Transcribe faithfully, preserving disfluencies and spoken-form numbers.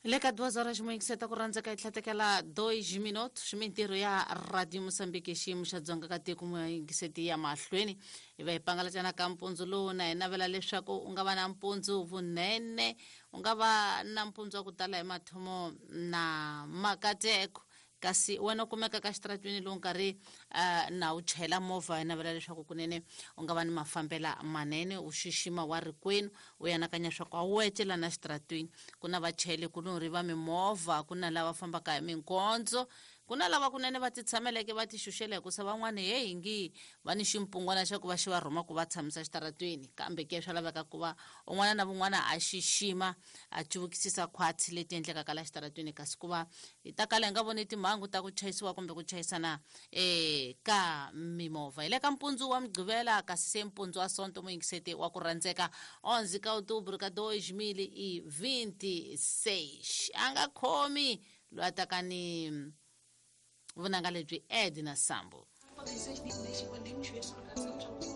Le ka duas horas moyingiseta ku rhandzeka hi tlhatekela dois minutos mintirho ya Radio Mosambiki xiyimo xa dzonga ka tiko moyingiseti ya mahlweni hi va hi pangalatana ka mpundzu lowu na hi navela leswaku u nga va na mpundzu vunene u nga va na mpundzu wa ku tala hi mathomo na makateko kasi wena u kumeka ka xitaratwini lowu nkarhi uh, na u chayela movha hi navela leswaku kunene u nga va ni mafambela manene u xixima wa rikwenu u anakanya swa ku a wu etlela na xitaratwini ku na vachayeli kulorhi va mimovha ku na lava fambaka hi minkondzo ku na lava kunene va ti tshameleke va ti xuxela hikusa van'wani heyi ngi va ni ximpungwana xa ku va xi va rhuma ku va tshamisa xitaratwini kambe ke swa laveka ku va un'wana na vun'wana a xixima a cuvukisisa khwatsi leti endlekaka la xitaratwini kasi ku va hi ta kala hi nga voni timhangu ta ku chayisiwa kumbe ku chayisana eh ka mimovha hi le ka mpundzu wa mugqivela kasi se mpundzu wa sonto muyingiseti wa ku rhandzeka onze ka outubro ka dois mil e vinte e seis a nga khomi loyi a taka ni vunanga lebyi Edna Sambo.